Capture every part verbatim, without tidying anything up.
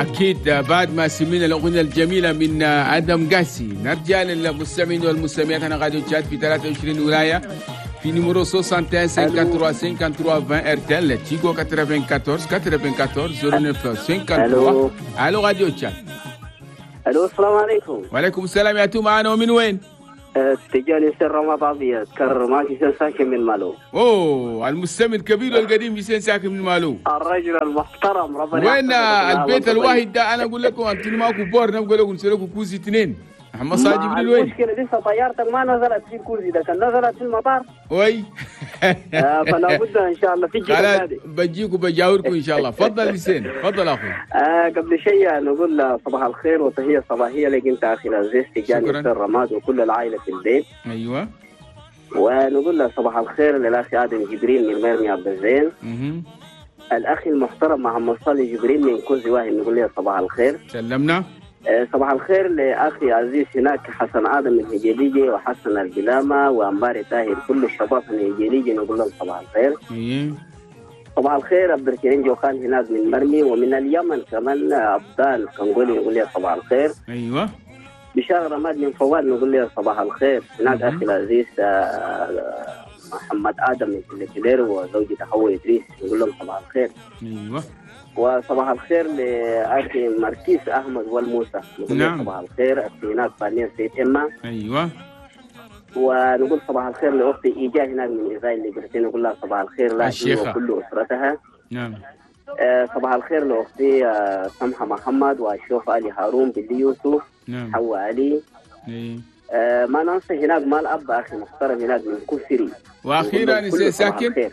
أكيد بعد ما سمعنا الأغنية الجميلة من آدم قاسي نرجع للمستمعين والمستمعات. أنا راديو تشاد في ثلاثة وعشرين ولاية في numéro soixante et un cinquante-trois cinquante-trois vingt RTL Tigo quatre-vingt-quatorze quatre-vingt-quatorze zéro neuf cinquante-trois. ألو راديو تشاد. ألو السلام عليكم. وعليكم السلام. يا تو معنا ومن وين؟ تجاني سر رمضان كرماكي ساكن من مالو. اوه المستمع الكبير والقديم حسين ساكن من مالو، الرجل المحترم ربنا. وين البيت الواحد ده؟ انا اقول لكم انتم ماكو بور، نقول لكم نسلكوا كوزي اثنين. محمد صالح جبريل وين؟ المشكلة لسه طيارتك ما نزلت في الكوزي ده، كان نزلت في المطار. وي آه فلا بد ان شاء الله في خلاص بجيكم بجاوركم ان شاء الله. تفضل حسين، تفضل اخوي. آه قبل شيء نقول صباح الخير وتحية صباحية لك انت اخي العزيز تجاني الرماد وكل العائلة في البيت. ايوه. ونقول صباح الخير للاخ ادم جبريل من ميرمي عبد الزين. الاخ المحترم محمد صالح جبريل من كوزي واحد نقول له صباح الخير. سلمنا. صباح الخير لأخي عزيز هناك حسن آدم من هجليجي وحسن البلامة وأنباري طاهر، كل الشباب من هجليجي نقول لهم صباح الخير. صباح الخير عبد الكريم جوخان هناك من مرمي، ومن اليمن كمان أبدال كنقولي نقول له صباح الخير. أيوة. بشار رماد من فواد نقول له صباح الخير. هناك أخي العزيز محمد آدم من كلير وزوجته حواء إدريس نقول لهم صباح الخير. أيوة. وصباح الخير لأخي مركيز أحمد والموسى نقول نعم. صباح الخير أختي هناك فانية سيد إما. أيوة. ونقول صباح الخير لأختي إيجا هناك من إزاي اللي برسين نقول لها صباح الخير لها وكل أسرتها. نعم. آه صباح الخير لأختي آه سمحة محمد والشوف علي هارون باللي يوسف. نعم. حواء علي. إيه. آه ما ننسى هناك مال أب أخي محترم هناك من كفري. وأخيرا ساكن.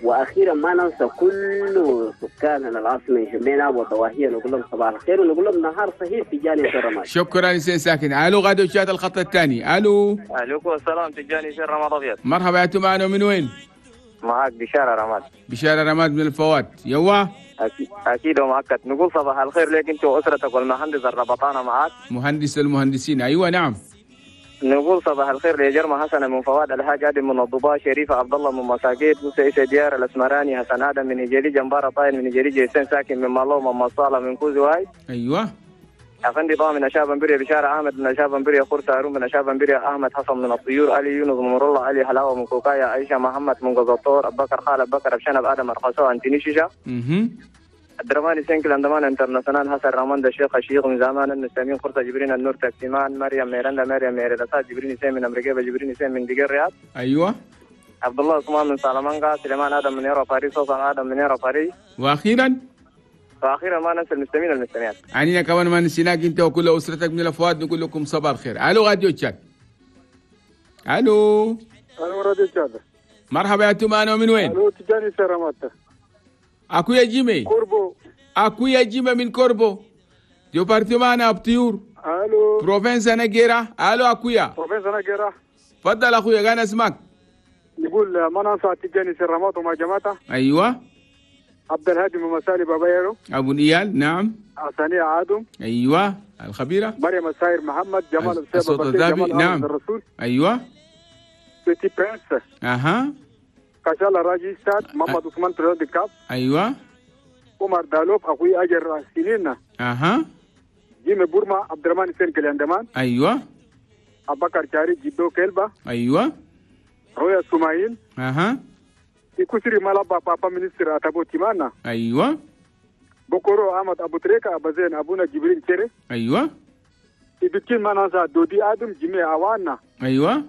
واخيرا ما ننسى كل سكاننا العاصمة جمينا وضواحيها نقول لهم صباح الخير ونقول لهم نهار صحيح تجاني رمضان. شكرا سي ساكن. الو غادو شاد الخط الثاني. الو. عليكم السلام تجاني سير رمضان ابيض. مرحبا يا معنا من وين؟ معك بشارة رماد. بشارة رماد من الفوات. يوا اكيد اكيد ومؤكد. نقول صباح الخير لك انت واسرتك والمهندس الربطانه معك. مهندس المهندسين. ايوه نعم. نقول صباح الخير لجرمى حسن من فواد، الحاج ادم من الضباء، شريفه عبد الله من مساكيت، موسى عيسى ديار الاسمراني، حسن ادم من هجري، جنبارة طاين من هجري، جيسان ساكن من مالو، من مصالة من كوزواي. ايوه. افندي ضامن اشاب بريا، بشارة احمد من اشاب بريا، خرس هارون من اشاب بريا، احمد حسن من الطيور، علي يونس من مر الله، علي حلاوة من كوكايا، عائشة محمد من قزطور، ابو بكر خالد بكر ابشنب ادم الخسو انتني شيشة. اها. الدرماني سينكل اندمان انترناسيونال حسن رامون الشيخ الشيخ من زمان المسلمين قرطة جبرين النور تاكسيمان مريم ميرندا مريم ميرندا جبرين سيم من امريكا جبرين سيم من دقير الرياض. ايوه. عبد الله عثمان من سلامانكا، سليمان ادم من يورو باريس، سلطان ادم من يورو باريس. واخيرا واخيرا ما ننسى المستمعين والمستمعات. عنينا كمان ما نسيناك انت وكل اسرتك من الافواد نقول لكم صباح الخير. الو راديو تشاد. الو. الو راديو تشاد. مرحبا يا تومانو من وين؟ الو تجاني سلامات. أكويا جيمي كوربو. أكويا جيمي من كوربو département أبتيور. ألو province نجيرة. ألو أكويا province نجيرة. تفضل أخويا أنا اسمك. نقول ما ننسى تجاني سرمات وما جماعته. أيوة. عبد الهادي من مسالي بابايرو. أبو نيال. نعم. عسانية عادم. أيوة الخبيرة. مريم الساير محمد جمال الصوت الذهبي. نعم. الرسول. أيوة. بيتي برنس. أها. كشال راجي ساد محمد عثمان ترند كاب. ايوه. عمر دالوب اخوي اجر سنين. اها. جيمي بورما عبد الرحمن سين كليندمان. ايوه. ابو بكر جاري جدو كلبا. ايوه. رويا سمايل. اها. يكسري مالابا بابا ministre اتابو تيمانا. ايوه. بكرو احمد ابو تريكا ابو زين ابونا جبريل تشيري. ايوه. يبكين منازا دودي ادم جيمي اوانا. ايوه.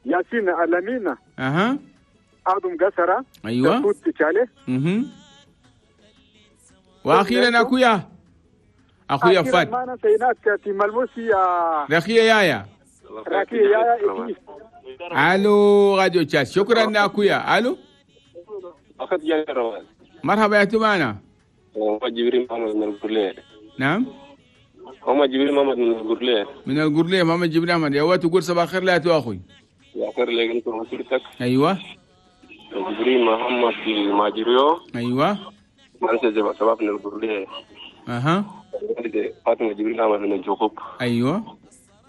ياسين الامين. اها. آدم قسرة. أيوة. اها. وأخيرا أخويا أخويا فات. ما نسيناك في ملموسي. رخية يايا. رخية يايا. ألو راديو تشاد. شكرا أخويا. ألو. أخذ جاني روان. مرحبا يا تمانا. هو جبريل محمد من القرلية. نعم. هم جبريل محمد من القرلية. من القرلية محمد جبريل محمد. يا وقت تقول صباح الخير لا تو أخوي. صباح الخير لك أنت وأسرتك. أيوة. جبريل محمد الماجريو. ايوه. أنت شباب من القرلية. اها. فاطمة جبريل أحمد من الجوخوب. ايوه.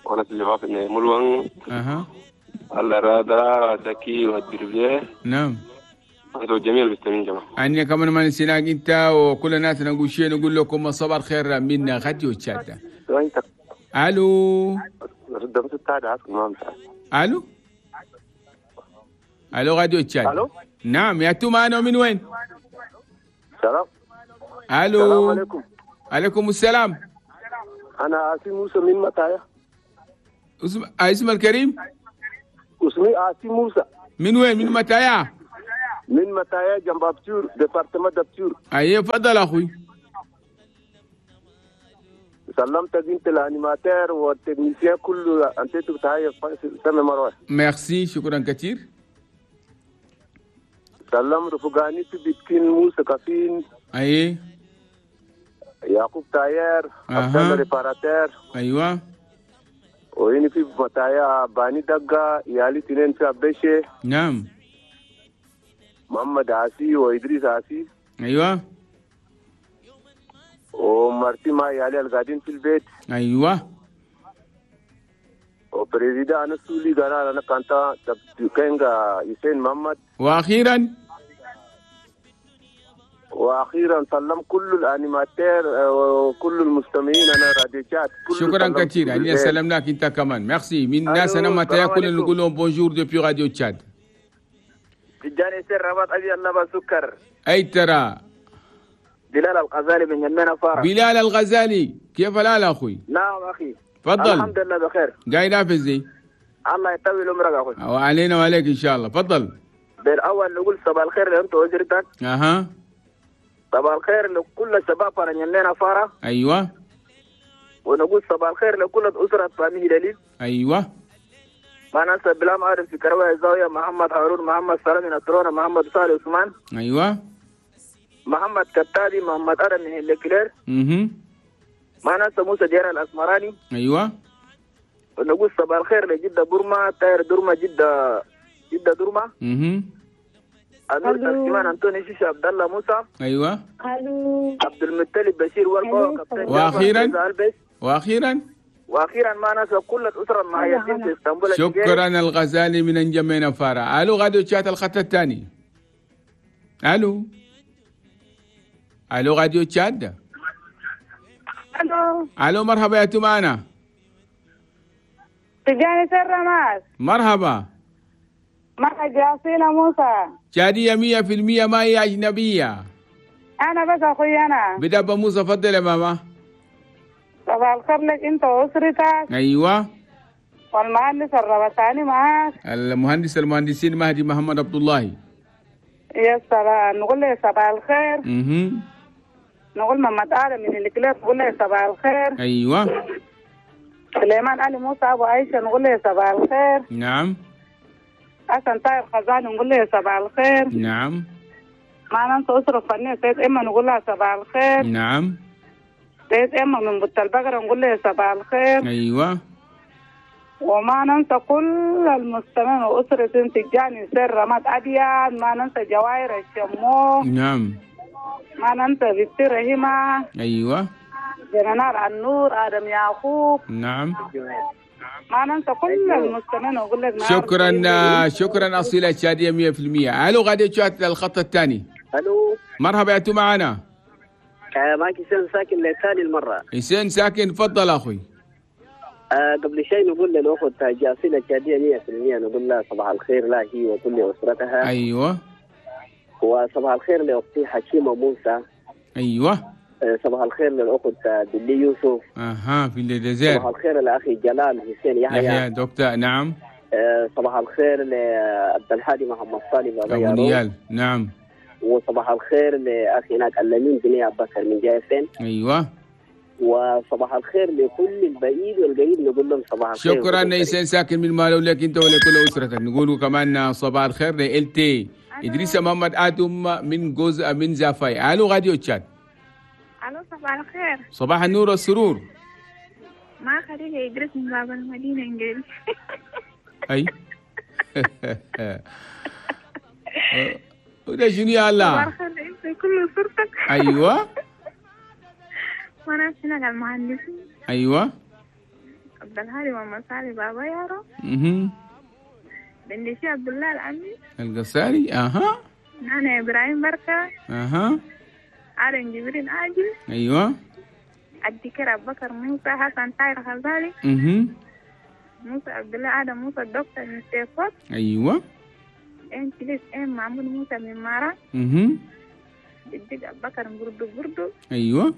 وانا شباب من ملوان. اها. الله رادا زكي والدربية. نعم. انتوا جميع المستمعين جماعة. أنا كمان ما نسيناك أنت وكل الناس نقول شيء، نقول لكم صباح الخير من راديو تشاد. ألو ألو ألو راديو تشاد. ألو. نعم يا تو معنا من وين؟ سلام. ألو. السلام عليكم. عليكم السلام. أنا عاصم موسى من متايا. اسم اسم الكريم؟ اسمي عاصم موسى. من وين؟ من متايا؟ من متايا جنب أبتور، département d'Abture. أيه تفضل أخوي. سلمت انت ال animateur وال technicien كله، انت بتاعي سامي مروان. ميرسي، شكرا كثير. سلم رفقاني في بيتكين موسى كافين. أيه. يعقوب تاير، عبد الله réparateur. أيوة. وين في متايا باني دقة، يالي تنين في أبشة. نعم. محمد عاسي وإدريس عاسي. أيوة. ومرتي ما يالي القاعدين في البيت. أيوة. و président أنا سولي قال أنا كنت كينغا حسين محمد. وأخيرا واخيرا سلم كل ال animateurs وكل المستمعين انا راديو تشاد. شكرا كثير، يعني سلمناك انت كمان. ميرسي من ناس انا ما تاكل نقول لهم bonjour depuis راديو تشاد. تجاني سر رباط ابي الله سكر. اي ترى بلال الغزالي من يمنا فارة. بلال الغزالي كيف الحال اخوي؟ نعم اخي تفضل. الحمد لله بخير. جاي نافذ. الله يطول عمرك اخوي. وعلينا وعليك ان شاء الله. تفضل. بالاول نقول صباح الخير لانت وزرتك. اها. صباح الخير لكل الشباب رنينا فارة. ايوه. ونقول صباح الخير لكل اسره فامي هلالي. ايوه. ما ننسى بلام عارف في كروه الزاوية، محمد هارون، محمد سلام نصرانه، محمد صالح عثمان. ايوه. محمد كتابي، محمد ادم من الكلير. اها. ما ننسى موسى ديار الاسمراني. ايوه. ونقول صباح الخير لجده بورما، تاير دورما، جده جده دورما. اها. امير ترجمان انطوني شيشة، عبد الله موسى. ايوه. عبد المطلب بشير والبا كابتن. واخيرا واخيرا واخيرا ما ننسى كل الاسرة المعيشين في اسطنبول. شكرا الغزالي من انجمينا فارا. الو غاديو تشات الخط الثاني. الو الو غاديو تشاد. الو الو مرحبا يا تمانا. تجاني سر ماس. مرحبا. مرحبا جاسينا موسى. تشادية مية في المية ما هي أجنبية. أنا بس أخوي أنا. بدأ موسى فضل يا ماما. صباح الخير لك أنت وأسرتك. أيوة. والمهندس الربطاني معاك. المهندس المهندسين مهدي محمد عبد الله. يا سلام، نقول له صباح الخير. اها. نقول محمد آدم من الكلاب نقول له صباح الخير. أيوة. سليمان علي موسى أبو عائشة نقول له صباح الخير. نعم. حسن طاهر خزان نقول له صباح الخير. نعم. معنا انت أسرة فنية سيد إما نقول لها صباح الخير. نعم. سيد إما من بط البقرة نقول لها صباح الخير. أيوة. وما ننسى كل المستمعين وأسرة تجاني سر رماد أبيض، ما ننسى جواهر الشمو. نعم. ما ننسى بنت رحيمة. أيوة. جنرال النور آدم يعقوب. نعم. ما ننسى كل المستمعين وأقول لك شكرا. شكرا أصيلة الشادية مية في المية. ألو غادي تشات الخط الثاني. ألو مرحبا يا معنا. معك حسين ساكن لثاني المرة. حسين ساكن تفضل أخوي. آه قبل شيء نقول للأخت جاسيلة الشادية مية في المية نقول لها صباح الخير لها هي وكل أسرتها. أيوة. وصباح الخير لأختي حكيمة موسى. أيوة. آه صباح الخير للأخت بلي يوسف. أها في الجزائر. صباح الخير لأخي جلال حسين يحيى. يحيى دكتور. نعم. آه صباح الخير لعبد الهادي محمد صالح أبو نيال. نعم. وصباح الخير لأخي هناك اللمين بني أبو بكر من جايفين. أيوة. وصباح الخير لكل البعيد والقريب نقول لهم صباح الخير. شكرا نيسان ساكن من مالو لك انت ولكل اسرتك. نقول كمان صباح الخير لالتي ادريس محمد ادم من جزء من زافاي. الو راديو تشاد. الو صباح الخير. صباح النور والسرور. مع خديجة ادريس من باب المدينة انجلي. اي وده شنو يا الله؟ صباح الخير انت كل اسرتك. ايوه. وانا هنا المهندسين. ايوه. عبد الهادي محمد صالح بابا يارو. اها. بندشي عبد الله العمي القصاري. اها. أنا إبراهيم بركة. أها. آدم جبرين عاجل. أيوة. الدكتور أبو بكر موسى حسن طاهر غزالي. اها. موسى عبد الله آدم موسى الدكتور من سيفوت. أيوة. إن كليس إن محمود موسى من مارا. اها. الدكتور أبو بكر بردو بردو. أيوة.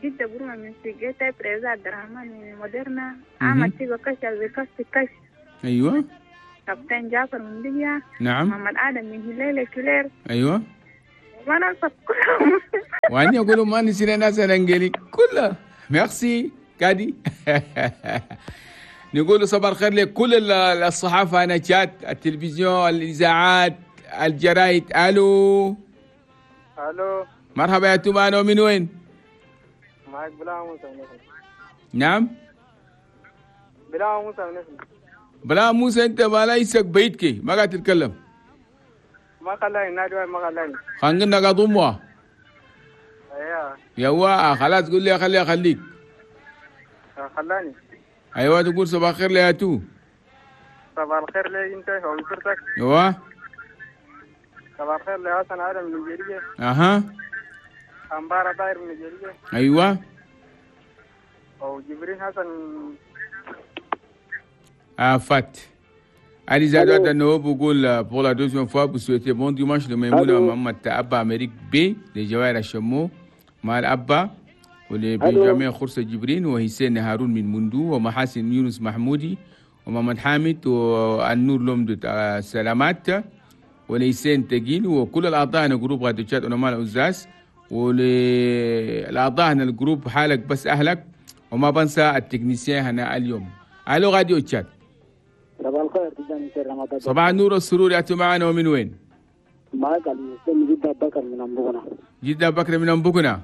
جدة بروما من سيجيتا بريزا عبد الرحمن من مودرنا. أحمد تيجو كش بكش كش. أيوة. كابتن جعفر من ليبيا. نعم. محمد آدم من هلال كلير. أيوة. وما ننسى كلهم. وأنا أقول ما نسينا ناس الأنجلي كلها. ميرسي كادي. نقول صباح الخير لكل الصحافة، أنا شات، التلفزيون، الإذاعات، الجرايد. ألو. ألو. مرحبا يا تومان، ومن وين؟ معك بلا موسى من نفسي. نعم. بلا موسى من نفسي. بلا موسى، انت ما ليسك بيتك ما قاعد تتكلم. ما خلاني نادي ما خلاني. خلينا قاعد امه. ايوه. يوا خلاص قول لي خلي اخليك. خلاني. ايوه تقول صباح الخير ليا تو. صباح الخير لي انت واسرتك. ايوه. صباح الخير لحسن ادم من نيجيريا. اها. أمبارة داير من نيجيريا. ايوه. وجبرين حسن. آفات. Ali Zado Dano Bougoul pour la deuxième fois pour souhaiter bon dimanche le Maimouna Mohamed Abba Amérique B les Jawahir Hachamo Mal Abba ولي Benjamin خرسة جبرين وحسين هارون من مندو ومحاسن يونس محمودي ومحمد حامد والنور لومدو سلامات وليسين تقيل وكل الأعضاء هنا groupe راديو تشاد ونمال أوزاس وللأعضاء هنا ال groupe حالك بس أهلك، وما بنسى ال technicien هنا اليوم. ألو راديو تشاد. صباح الخير تجاني سير رمضان. صباح النور والسرور، يا معنا ومن وين؟ معك المسلم جدة بكر من أمبوكنا. جدة بكر من أمبوكنا.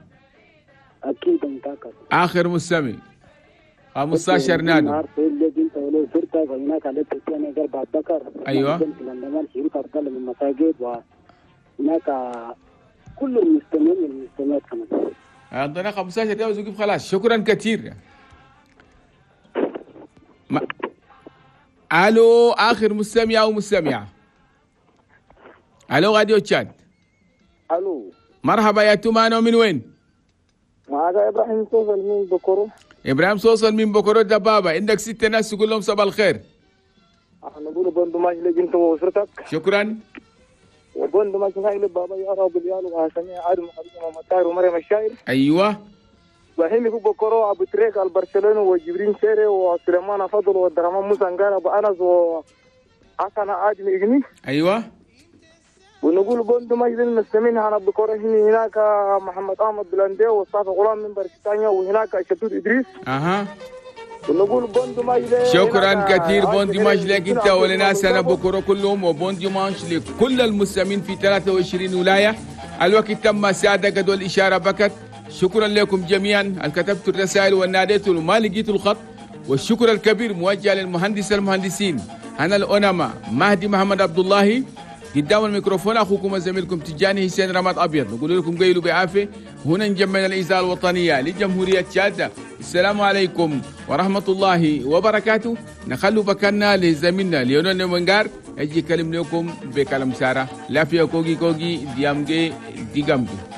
أكيد متأكد. آخر مستمع خمستاشر نادو. أيوة. هناك كل المستمعين والمستمعات كمان. عندنا خمستاشر دقيقة خلاص، شكرا كثير. ما... الو اخر مستمع او مستمعه. الو راديو تشاد. الو مرحبا يا تومانو، من وين؟ معك ابراهيم صوصل من بكرو. ابراهيم صوصل من بكرو دبابه، عندك ست ناس تقول لهم صباح الخير. نقول bon dimanche لك انت واسرتك. شكرا. و bon dimanche لبابا يا رب اليال وهاشمي عادل محمد طاهر ومريم الشاعر. ايوه. وهيمي بكرو ابو تريك البرشلوني وجبرين شيري وسليمان فضل والدرمان موسى انقار ابو انس وحسن عادل اجني. ايوه. ونقول bon dimanche للمستمعين هنا بكره هناك محمد احمد بلندي وصافي غلام من برشتانيا وهناك شتوت ادريس. اها. ونقول bon dimanche. شكرا كثير، bon dimanche لك انت ولناس انا بكره كلهم، و bon dimanche لكل المستمعين في ثلاثة وعشرين ولايه. الوقت تم ساده قد والاشاره بكت. شكرا لكم جميعا كتبت الرسائل والناديت وما لقيت الخط، والشكر الكبير موجه للمهندس المهندسين هنا الأونما مهدي محمد عبد الله قدام الميكروفون، اخوكم وزميلكم تجاني حسين رماد ابيض. نقول لكم قيلوا بعافيه. هنا نجمعنا الاذاعه الوطنيه لجمهوريه تشاد. السلام عليكم ورحمه الله وبركاته. نخلوا بكنا لزميلنا ليونيل نونغار يجي يكلم لكم بكلام ساره. لا فيها كوغي كوغي ديامجي ديغامجي.